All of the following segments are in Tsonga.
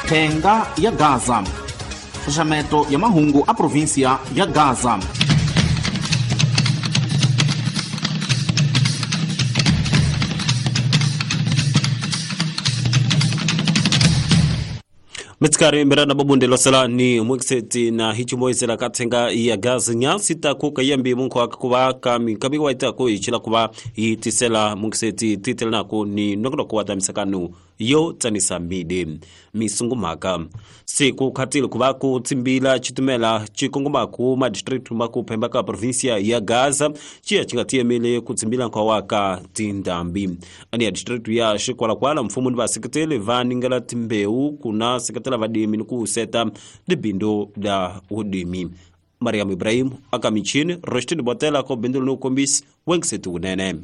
Thenga ya Gaza. Xaxameto ya mahungu a província ya Gaza. Mitsikari mirana babunde losela ni mwikiseti na hichimoisela kathenga ya Gaza nyasi taku kayambi munko akakuba kami kabi waita ko ichila kuba itisela mwikiseti titela nako ni nokolo kwa yo tsanisa mide misungumaka siku khatile kuba ku tsimbila chitumela chikongoma ku ma district maku phemba ka provincia ya Gaza chiya chingatiyemele ku tsimbila nkwa waka tindambi ani ya district ya Xikwalakwala mfumo ni vaseketeli va ningela timbewu kuna seketela vadimi ni ku seta libindo la udimi. Mariam Ibrahim akamichini Roshtini Botela ko bindu no kombisi wengisetu kunene.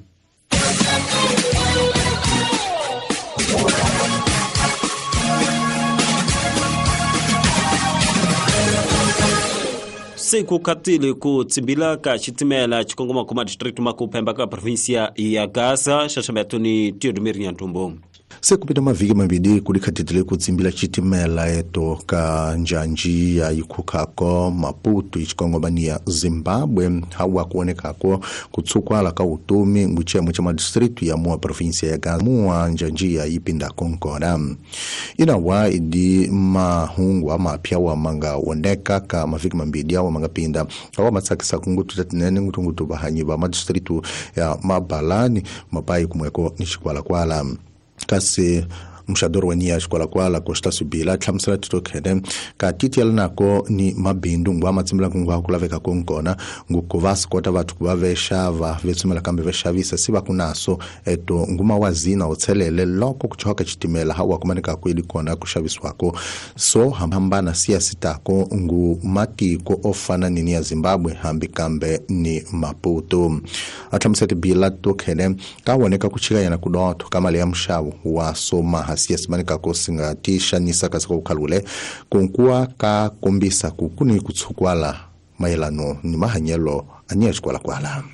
Siku katili ku tsimbila ka chitimela chikongoma kuma district makuphemba ka provincia ya Gaza xaxameto ni Teodomir Nyantumbo. Sekupita mavhiki mambili kulikhatitile kutsimbila chitimela eto ka njanji ya ikhukhako Maputo ichikongomani ya Zimbabwe hawa kuonekako kutsukwala ka utumi nguchemo cha madistritu ya mua província ya Gaza mua njanji ya ipinda konkona inawa idi mahungu amapya wa manga oneka ka mavhiki mambili awa mangapinda awa matsakisa kungutu tatinene ngutungutu bahanyi ba madistritu ya Mabalani Mapai kumweko ni Xikwalakwala. Kasi mxadoro wa niya Xikwalakwala Constâncio Bila hlamusela titokhene ka titiela nako ni mabindu ngwa matsimbila kungwa kulaveka konkona ngukuva sikota vathu kuva vexava vetsumela kambe vexavisa si va kunaso eto nguma wa zina utshelele loko kuchoka chitimela hawa kumanika kweli kona kuxavisiwako so hambana siya sitako ngu matiko ofana nini ya Zimbabwe hambi kambe ni Maputo. Ahlamusela Bila titokhene ka woneka kuchika yana kudotho kamali ya mxavo wa soma hasiya simanika kosinga tisha nisa kasiko ukhalule kunkuwa ka kombisa kukuni kutsukwala mayelano ni mahanyelo aniya Xikwalakwala.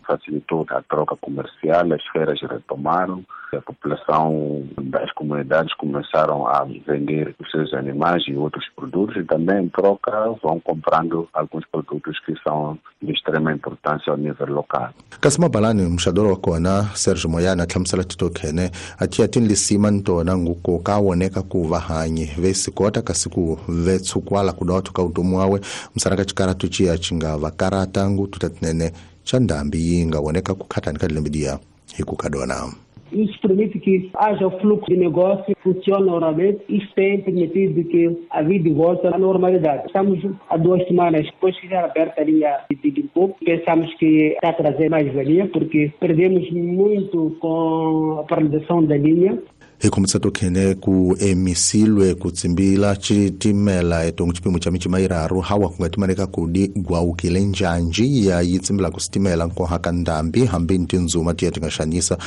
Facilitou a troca comercial, as feiras retomaram, a população das comunidades começaram a vender os seus animais e outros produtos e também em troca vão comprando alguns produtos que são de extrema importância ao nível local. Kasi Mabalani mxadoro wa kona Sergio Moyana hlamusela titokhene atia tinlisima ntona nguko ka woneka ku vahanyi vesikota kasi ku vetsukwala kudotho ka utomi wawe msaraka chikaratu chiya chingava karata ngutu tatinene cha ndambi yinga woneka kukhatani ka dilembidia hikukadona. Isso permite que haja o fluxo de negócio, funcione normalmente. Isso tem permitido que a vida volte à normalidade. Estamos há 2 semanas depois que já aberta a linha de Limpopo. Pensamos que está a trazer mais valia, porque perdemos muito com a paralisação da linha. Hi tokhene ku emisilwe kutsimbila chitimela eto chipimo cha michima iraru hawa kungatimaneka kudi gwaukile njanji ya yitsimbila kusitimela nkohaka ndambi hambi ntinzuma tiya tingaxanisa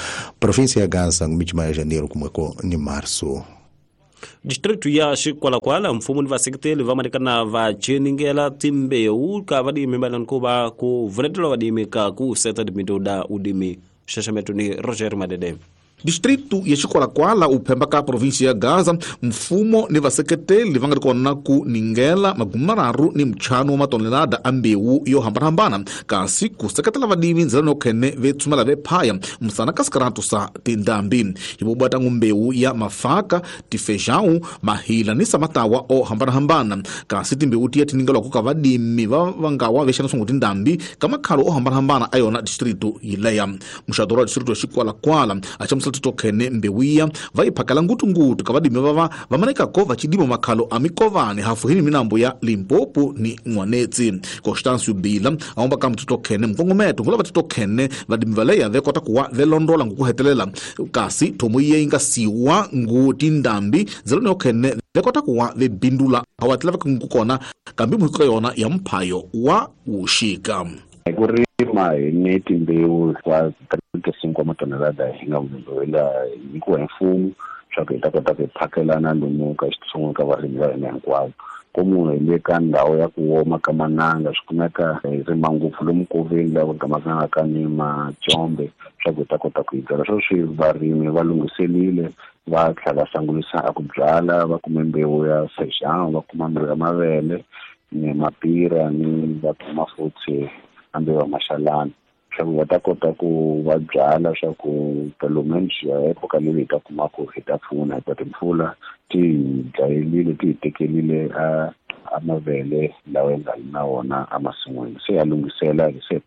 província ya Gaza michima ya janeiro kumweko ni março. Distrito ya Xikwalakwala mfumo ni vaseketeli va manikana va cheningela timbewu ka vadimi malankuva ku vunetela vadimi ka ku seta timinto da udimi. Xaxameto ni Roger Madede. Distrito ya Xikwalakwala uphemba ka província ya Gaza mfumo ni vaseketeli va nga ri kona ku ningela 35 wa matonelada a mbewu yo hambanahambana kasi ku seketela vadimi ndzela no khene ve tsumela ve phaya msana ka sikaratu sa tindambi hi vobata mbewu ya mafaka tifejão mahila ni samatawa o hambanahambana kasi timbewu tiya tiningelwako ka vadimi va vangawa vexana swangu tindambi ka makhalo o hambanahambana a yona distrito yileya. Muxadoro wa distrito ya Xikwalakwala a xamusela titokhene mbewiya va yi phakela ngutungutu ka vadimi vava va manekako va chidima makhalo a mikovani hafuhini minambo ya Limpopo ni N'wanetsi. Constâncio Bila aomba ka mtitokhene mkongometo ngula va titokhene vadimi valeya ve kota kuwa ve londola ngukuhetelela kasi thomo yiye yi nga siwa ngu tindambi ndzela yokhene ve kota kuwa ve bindula awatlela va kukona kambi muhiko yona ya mphayo wa wuxika. Ku rima hi ni timbewu kwa 35 matonelada hi nga vumbiwela nyikiwa hi mfumo swa ku hi ta kota ku hi phakelana lomu ka xitsongo ka varimi va hina hinkwavo. Ko munhu hi le ka ndhawu ya ku woma ka mananga swi kumeka hi rima ngopfu lomu koveni laha ku gamakanga ka ni macombe swa ku hi ta kota ku yi byala. Sweswi varimi va lunghiselile Va tlhela va sangulisa a ku byala, va kume mbewu ya feijão, va kuma mbewu ya mavele ni mapira, ni va kuma futhi a mbewu ya maxalana, swa ku va ta kota ku va byala swa ku pelo menos ya época leyi hi ta kuma ku hi ta pfuna, hikuva timpfula ti hi dlayelile, ti hi tekelile a mavele lawa hi nga na wona emasin'wini. Se ya lunghisela, se hi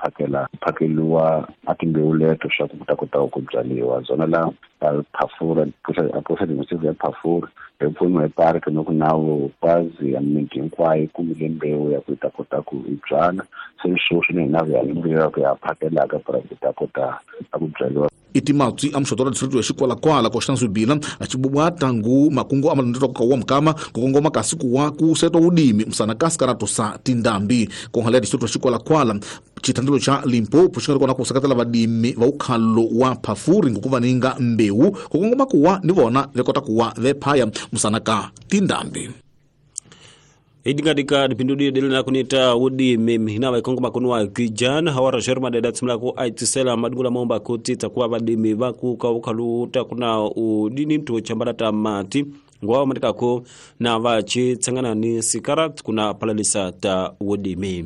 phakeliwa a timbewu leto swa ku ku ta kota ku byaliwa zona la Phafura, a processo administrativo ya Phafura hi pfuniwa hi park no ku nawu kwazi ya miti hinkwayo yi kumile mbewu ya ku yi ta kota ku yi byala. Se sweswi ni hina ya mbewu ya ku ya phakelaka para ku ta kota ku byaliwa. Iti matswi a muxoto wa distrito ya Xikwalakwala ko Xitansubila a xibubwata ngu makungu a malondzelo ka wa mukama ku kongoma kasi ku wa ku setwa wudimi musana kasi karato sa tindambi ko hala distrito ya Xikwalakwala chitandelo cha Limpopo xi nga ri kona ku seketela vadimi va ukhalo wa Phafuri ngukuva ninga mbewu ku kongoma kuwa ni vona ve kota kuwa ve phaya musana ka tindambi. Idingadika dipindudi dele na kunita wudi mihina wa ikongo makunua kijana hawara sherma deda tsimla ku aitisela madungula momba kuti takuwa vadimi vaku kaukaluta kuna udini mtu chambala tamati ngwa matikako na vachi tsangana ni sikara kuna palalisa ta wudimi.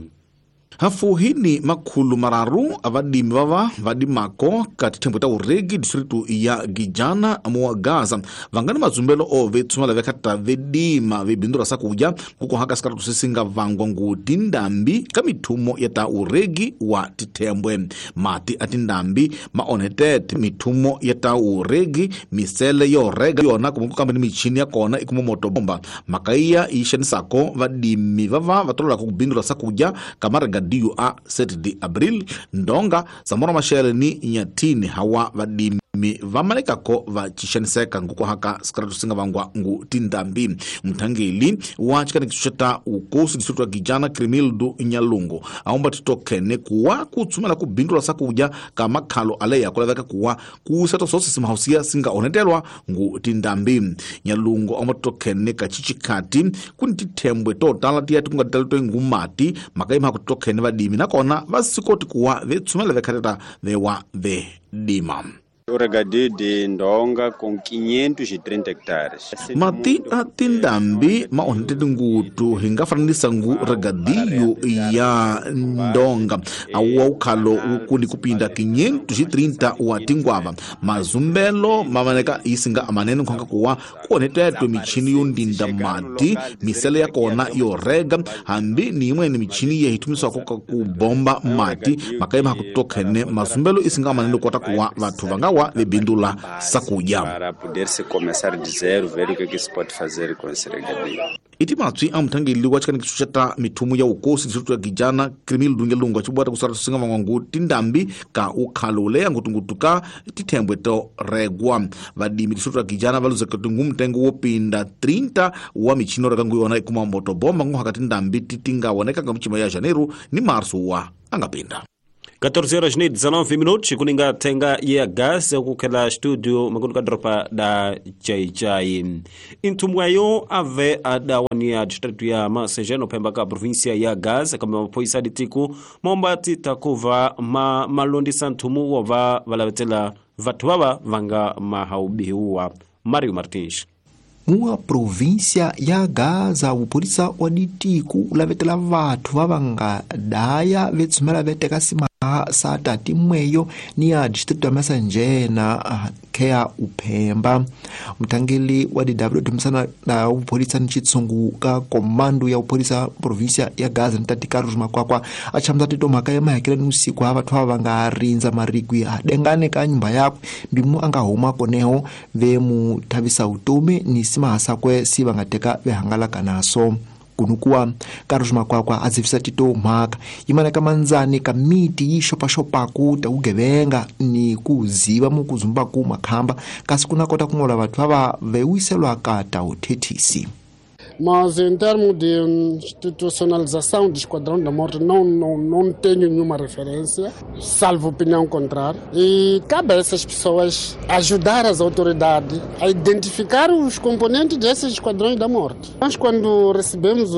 Hafu hini makhulu mararu avadimi vava vadimako ka tithembo ta uregi distritu ya Gijana muwa Gaza vangani mazumbelo o vetsumala vekhata vedima vebindura sakuja kukohaka sikaratu sisinga vangwa ngu tindambi ka mithumo ya ta uregi wa tithembwe. Mati a tindambi maonhetete mithumo ya ta uregi misele yo rega yona kumbe kambe ni michini ya kona ikuma moto bomba makaiya yi xanisako vadimi vava va tololaka ku bindura sakuja kamara diu a 7 de abril ndonga Samora Machel ni Nyatini hawa vadimi vamalekako va chixaniseka ngukuhaka sikaratu singa vangwa ngu tindambi. Mthangeli wa chikanikiso ta ukosi distritu ya Gijana Krimildu Nyalungu aomba titokene kuwa kutsumela kubindula sakuja ka makhalo aleya kulaveka kuwa kuseta sose simahausia singa onetelwa ngu tindambi. Nyalungu aomba titokene ka chichikati kuni tithembwe totala tiya tikungatitali ngumati makaima kutokene vadimi nakona vasikoti kuwa vetsumela vekhateta vewa vedima. O regadio de Ndonga com 530 hectares. Mati a tindambi maonhetete ngutu hi nga fananisa ngu regadio ya Ndonga awa ukhalo ukuni kupinda 530 wa tingwava mazumbelo mamaneka isinga amanene nkhonga kuwa kuonhetetwe michini yo ndinda mati misele ya kona yo rega hambi ni imweni michini yehitumiswako ka kubomba mati makaima hakutokhene mazumbelo isinga amanene kota kuwa vathu vanga wa vebindula sakuja para poder se começar de zero ver o que que se pode fazer com esse regadio. Iti matswi a mthangeli wa chikanikiso xa ta mithumo ya ukosi distritu ya Gijana Krimildu Nyalungu achibwata kusara singa vangwangu tindambi ka ukhalo leya ngutungutu ka tithembwe to regwa vadimi distritu ya Gijana valuzeka tingu mtengo wo pinda 30 wa michino rekangu yona ikuma moto bomba nguhaka tindambi titingawoneka nga michima ya Janeiro ni Março wa angapinda. 14 horas e 19 minutos kuninga tenga ya gas kukhela studio makundu kadropa da chai chai intumwayo ave adawania distrito ya Masejeno pemba ka província ya Gaza kama mapoisa ditiku momba titakuva ma malondisa ntumu wova valavetela vatu vava vanga mahaubihuwa. Mario Martins. Mua província ya Gaza upholisa wa ditiku ulavetela vathu vavanga daya vetsumela veteka simaha sa tati mweyo ni ya distrito ya Masanjena kea uphemba. Mthangeli wa DW dumisana na upholisa ni chitsungu ka komando ya upholisa província ya Gaza ni tati Carlos Makwakwa achamza tito mhaka ya mahekela ni usiku ha vathu vavanga rindza marigwi adengane ka nyumba yakwe mbimu anga huma koneho ve mu thavisa utomi ni simahasakwe si vangateka vehangalaka naso. Kunukuwa Carlos Makwakwa azivisa tito mhaka imana ka manzani ka miti yi xopaxopaku ta ugevenga ni kuziva mukuzumbaku makhamba kasi kuna kota kungola vathu vava vewiselwa ka ta uthethisi. Mas em termos de institucionalização do Esquadrão da Morte, não tenho nenhuma referência, salvo opinião contrária. E cabe a essas pessoas ajudar as autoridades a identificar os componentes desses Esquadrões da Morte. Nós, quando recebemos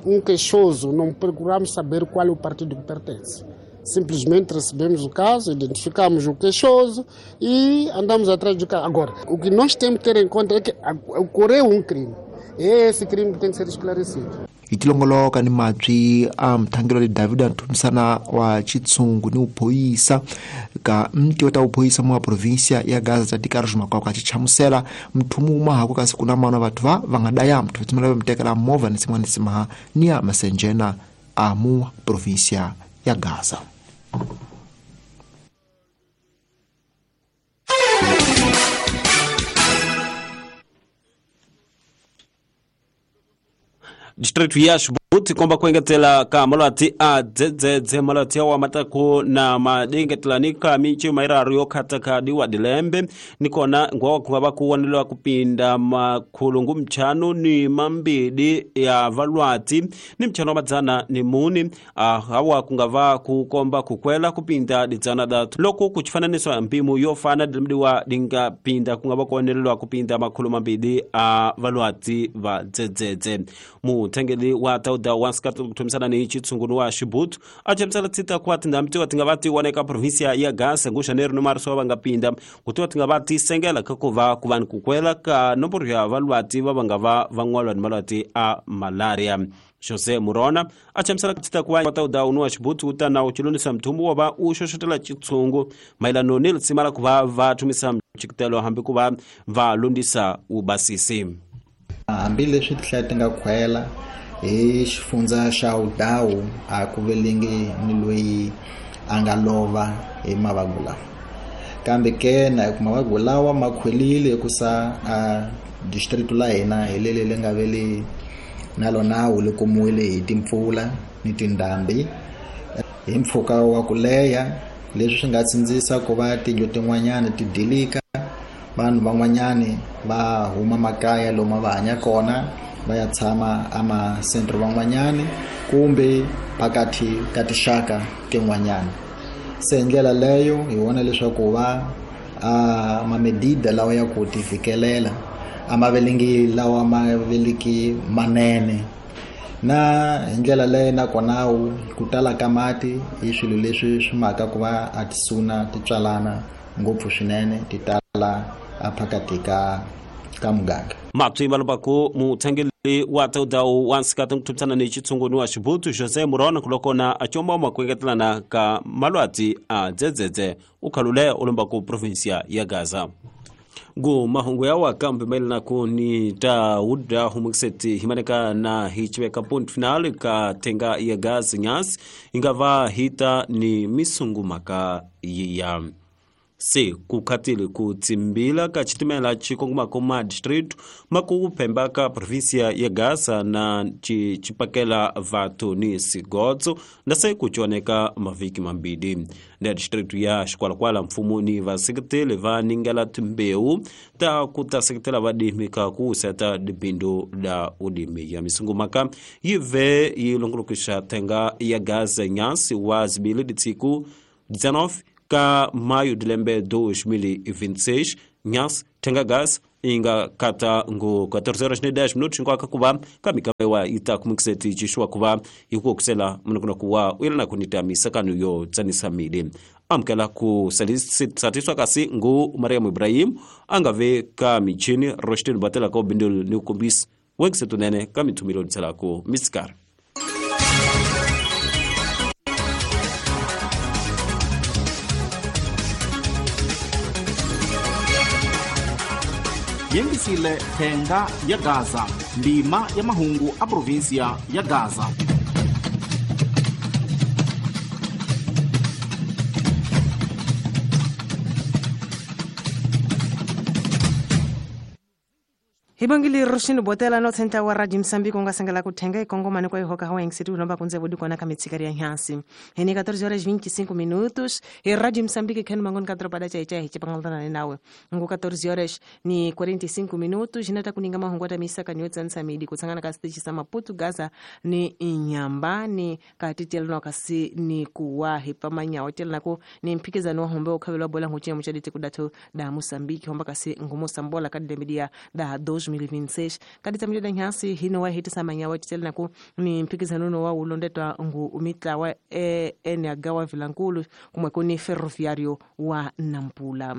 um queixoso, não procuramos saber qual é o partido que pertence. Simplesmente recebemos o caso, identificamos o queixoso e andamos atrás do caso. Agora, o que nós temos que ter em conta é que ocorreu um crime. É esse crime que tem que ser esclarecido. Itilongoloka ni mabyi a mthangelo le David Nthumisana wa Chitsungu ni uphoyisa ka mti ta uphoyisa mwa provincia ya Gaza ta Carlos Makwakwa chichamusela mthumu uma hako kasi kuna mana vathu va nga daya mthu tsimela mtekela movha ni sin'wana simaha ni ya masenjena a mu provincia ya Gaza. Distrito ya Xibuti komba ku engetela ka malwati a dzedzedze malwati awa mataku na madengetela ni ka michi mairaru yo khataka diwa dilembe nikona ngwa ku va ku waneliwa kupinda makhulungu mchanu ni mambidi ya valwati ni mchano wa madzana ni muni hawa kungava kukomba kukwela kupinda didzana datu loko kuchifananiswa mpimu yo fana dilemdiwa dingapinda kungava kuwaneliwa kupinda makhulu mambidi a valwati va dzedzedze. Muthengeli wa tauda wa nsikati kuthumisana ni chitsunguno wa Xibutu a chamusela tsita kwa tindhambi tiwa tinga va ti wana eka provinsia ya Gaza ngu Janeiro ni Marso va nga pinda kutiwa tinga va ti sengela ka ku va ku va ni kukwela ka nomboro ya valwati va nga va van'walwa ni malwati a malaria. José Murona a chamusela tsita kwa tauda wa Xibutu u ta na u chilonisa mthumbu wa va u xoxotela chitsungu mayelano ni litsima la ku va va thumisa mchikitelo hambi ku va va lundisa ubasisi. Hambileswi tihlaya ti nga khwela hi xifundza xa Udawu a ku velingi ni loyi a nga lova hi mavabyi lawa, kambe ke na ku mavabyi lawa ma khwelile hikusa a district la hina hi lele le nga veli na lona wu le kumiwile hi timpfula ni tindhambi hi mpfhuka wa ku leha, leswi swi nga tsindzisa ku va tindlu tin'wanyana ti dilika, vanhu van'wanyani va huma makaya lomu va hanya kona va ya tshama amasentro van'wanyani kumbe phakathi ka tixaka tin'wanyana. Se hi ndlela leyo hi vona leswaku va a mamedida lawa ya ku ti fikelela a ma velingi lawa ma veliki manene, na hi ndlela leyo nakona ku tala ka mati i swilo leswi swi maka ku va a tisuna ti tswalana ngopfu swinene ti tala phakathi ka muganga. Mabyi malombaku muthengeli wa taudawu wa nsikati kuthumisana ni chitsungu wa Xibutu José Murona kulokona achomba makuengetelana ka malwati a dzedzedze ukhalule ulombaku provinsia ya Gaza. Ngu mahungu yawa kambe mayelana ku ni ta uda humukiseti himaneka na hichiveka point final ka tenga ya Gaza nyasi ingava hita ni misungu maka ya se kukhatile kutsimbila ka chitimela chikongomako ma distrito makuphemba ka provinsia ya Gaza na chipakela vathu ni sigodzo na se kuchoneka mavhiki mambili na distrito ya Xikwalakwala mfumo ni vaseketeli va ningela timbewu ta ku ta seketela vadimi ka ku seta dibindu la ulimi ya misungumaka yive yi longolokisha tenga ya Gaza nyasi wa zibili ditsiku 19 ka maio de lembe 2026 nyas tenga gas inga kata ngo 14:10 ngwaka kuva kamikawewa ita kumikiseti chishwa kuva ikuokusela munokuna kuwa uyelana kunita misakano yo tsanisa mili amkela ku satiswa kasi ngu Mariam Ibrahim angave ka michini Roshtin batela ko bindul ni kumbis wengisetunene ka mithumilo tselako miskar. Yengisile thenga ya Gaza ndima ya mahungu a provinsia ya Gaza. Hibangili Roshini Botela no tenta wa Radio Msambiki unga sangala kutenga ikongomani kwa ihoka hawa ingisitu lomba kunze budi kwana kamitsikari ya nhansi. Hene 14:25 minutos e Radio Msambiki kenu mangoni katropada cha icha hichi pangaltana nawe. Ngu 14:45 minutos hinata kuninga mahungu ata misaka niwetsa nsamidi kutsangana kasitechi sa Maputo Gaza ni inyambani katitelno kasi ni kuwahi pamanya otelnako ni mphikizano wa hombe okhabelwa bola nguchinya muchaditi kudatho da Mosambiki homba kasi ngumo sambola kadembidia da 2026. Kaditsamile da nhansi hino wa hitisa manyawa titela naku ni mphikizano wa ulondetwa ngu mitlawa eNH wa Vilankulu kumwe kuni Ferroviário wa Nampula.